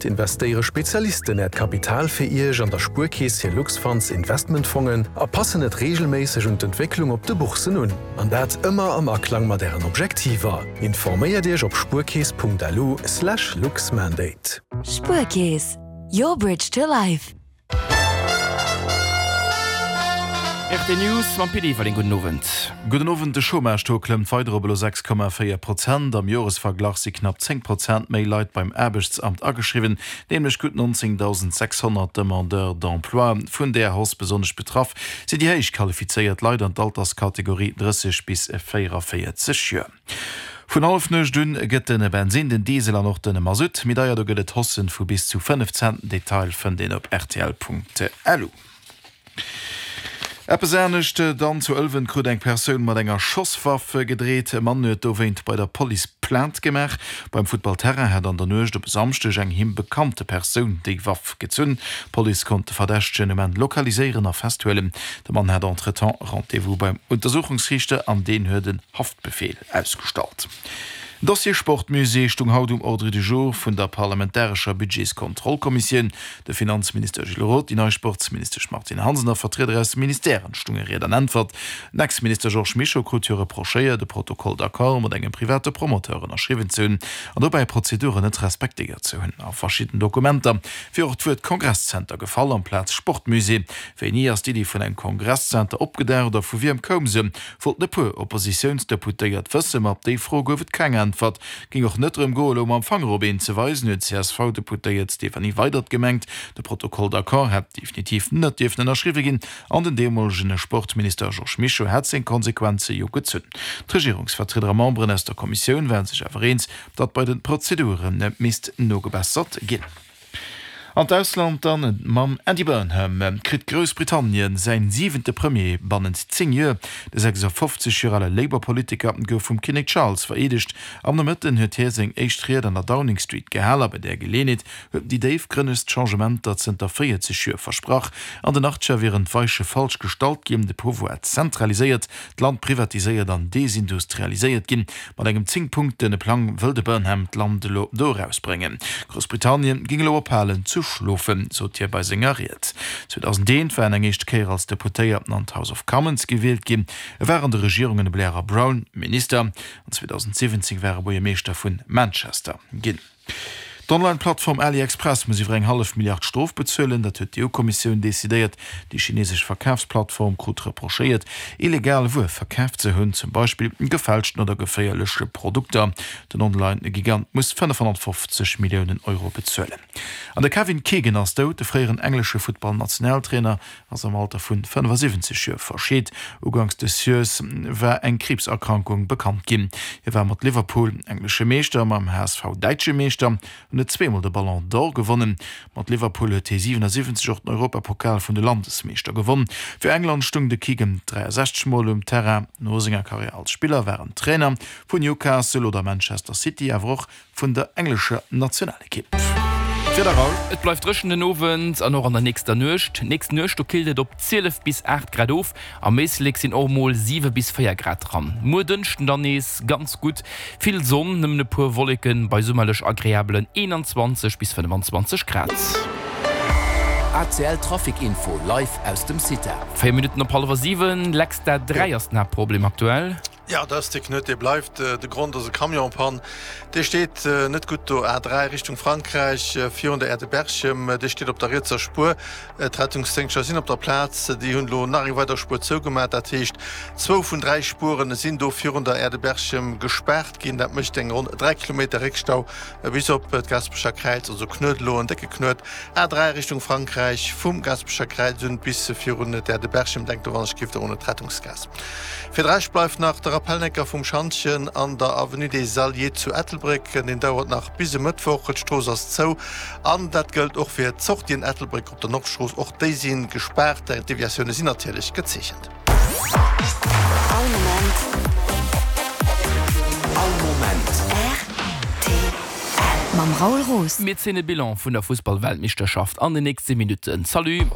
Investéiere Spezialisten Äert Kapital fir Iech an der Spuerkeess hir Luxfunds Investmentfongen a passen et reegelméisseg un d'Entwécklung op de Bourssen un. An dat ëmmer am Aklang mat Ären Objektiver. Informéiert Iech op spuerkeess.lu/luxmandate. Spuerkeess, your bridge to life. RT News mam Pit Everling. Gudden Owend. Gudden Owend. De Chômage-Taux klëmmt weider op elo 6,4 Prozent. Am Joresverglach si knapp 10 Prozent méi Leit beim Aarbechtsamt ageschriwwen, nämlech gutt 19.600 Demandeurs d'emploi. Vun där Hausse besonnesch betraff sinn déi héich qualifizéiert Leit an d'Alterskategorie 30 bis 44 Joer. Vun Hallefnuecht un gëtt de Bensin, den Diesel an och de Masutt méi deier. Do gëtt et Haussen vu bis zu 5 Cent. Detail fënnt een op rtl.lu. Eppes anescht dann, Zu Ëlwen krut eng Persoun mat enger Schosswaff gedreet. E Mann huet dowéint bei der Police Plainte gemaach. Beim Futtballterrain hätt an der Nuecht op e Samschdeg eng him bekannte Persoun déi Waff gezunn. D'Police konnt de Verdächtegen um Enn lokaliséieren a festhuelen. De Mann hat entretemps Rendez-vous beim Untersuchungsriichter an deen huet en Haftbefeel ausgestallt. Den Dossier Sportmusée stung haut um Ordre du jour vun der parlamentarescher Budgetskontrollkommissioun. De Finanzminister Gilles Roth, déi nei Sportsministesch Martine Hansen a Vertrieder aus de Ministèren stunge Ried an Äntwert. Den Ex-Minister Georges Mischo krut jo reprochéiert, e Protocole d'accord mat engem private Promoteur ënnerschriwwen ze hunn an dobäi Prozeduren net respektéiert ze hunn. A verschidden Dokumenter wier och d'Wuert Kongresszenter gefall amplaz Sportmusée. Wéini ass d'Iddi vun engem Kongresszenter opgedaucht a vu wiem koum se? Wollten e puer Oppositiounsdeputéiert wëssen, ma op déi Fro gouf et keng Äntwert. Géing och net drëm goen, elo mam Fanger op een ze weisen, huet d'CSV-Deputéiert Stéphanie Weydert gemengt. De Protocole d'accord hätt definitiv net dierfen ënnerschriwwe ginn an den deemolegen Sportminister Georges Mischo hätt seng Konsequenze jo gezunn. D'Regierungsvertrieder a Memberen aus der Kommissioun ware sech awer eens, datt bei de Prozedure misst nogebessert ginn. An d'Ausland dann, Mam Andy Burnham kritt Groussbritannien säin siwente Premier bannent 10 Joer. De 56 Joer ale Labour-Politiker gouf vum Kinnek Charles vereedegt. Am Nomëtten huet hie seng éischt Ried an der Downing Street gehal a bei där Geleeënheet huet en déi déifgrënnegst Changementer zënter 40 Joer versprach. An den Achtger wieren d'Weiche falsch gestallt ginn, de Pouvoir zentraliséiert, d'Land privatiséiert an desindustrialiséiert ginn. Mat engem 10 Punkten Plang wëll de Burnham d'Land elo do erausbréngen. Groussbritannien géing elo ophalen ze schlofen, sot hie bei senger Ried. 2001 war en eng éischt Kéier als Deputéierten an d'House of Commons gewielt ginn. E war an de Regierungen Blair a Brown Minister an 2017 war e Buergermeeschter vun Manchester ginn. D'Online-Plattform AliExpress muss iwwer eng hallef Milliard Strof bezuelen. Dat huet d'EU-Kommissioun decidéiert. Déi chinesesch Verkafsplattform krut reprochéiert, illegal Wuer verkaaft ze hunn, zum Beispill gefälschten oder geféierleche Produkter. Den Online-Gigant muss 550 Milliounen Euro bezuelen. An de Kevin Keegan ass dout. De fréieren englesche Futtball-Nationaltrainer ass am Alter vun 75 Joer verscheet. Uganks des Joers war eng Kriibserkrankung bekannt ginn. Hie war mat Liverpool englesche Meeschter, mam HSV däitsche Meeschter an huet zweemol de Ballon d'Or gewonnen. Mat Liverpool huet hie 77 och den Europapokal vun de Landesmeeschter gewonn. Fir England stung de Keegan 63 Mol um Terrain. No senger Karriär als Spiller war en Trainer vun Newcastle oder Manchester City, awer och vun der englescher Nationalekipp. D'Wieder, Raoul. Et bleift dréchen den Owend an och an der nächster Nuecht. Nächst Nuecht do killt et op 12 bis 8 Grad of, am Éislek sinn och mol 7 bis 4 Grad dran. Muer Dënschden dann nees ganz gutt, vill Sonn, nëmmen e puer Wolleken bei summerlech agreabelen 21 bis 25 Grad. ACL Trafic Info live aus dem CITA. 4 Minutten op hallwer 7, Lex, dat 3 ass den Haaptproblem aktuell. Jo, dat ass dee Knuet, dee bleift. De Grond ass e Camion-Pann. Dee steet net gutt do, A3 Richtung Frankräich, virun der Aire de Berchem. Dee steet op der rietser Spuer. D'Rettungsdéngschter sinn op der Plaz. Déi hunn elo nach eng weider Spuer zougemaach. Dat heescht, zwou vun 3 Spuere sinn do virun der Aire de Berchem gespaart ginn. Dat mécht eng ronn 3 Kilometer Réckstau bis op d'Gaasperecher Kräiz. Also Knuet elo, en décke Knuet. A3 Richtung Frankräich, vum Gaasperecher Kräiz un bis virun d'Aire de Berchem. Denkt do wann ech giff do un d'Rettungsgaass. Fir de Rescht bleift nach de Rappelnecker vum Schantjen an der Avenue des Alliés zu Ettelbréck. Deen dauert nach bis e Mëttwoch. D'Strooss ass zou an dat gëllt och fir d'Sortien Ettelbréck op der Nordstrooss. Och déi si gespaart. D'Deviatioune sinn natierlech gezeechent. All Moment. All Moment. Rtl. Mam Raoul Roos. Mir zéien e Bilan vun der Fussballweltmeeschterschaft an den nächste Minutten. Salut.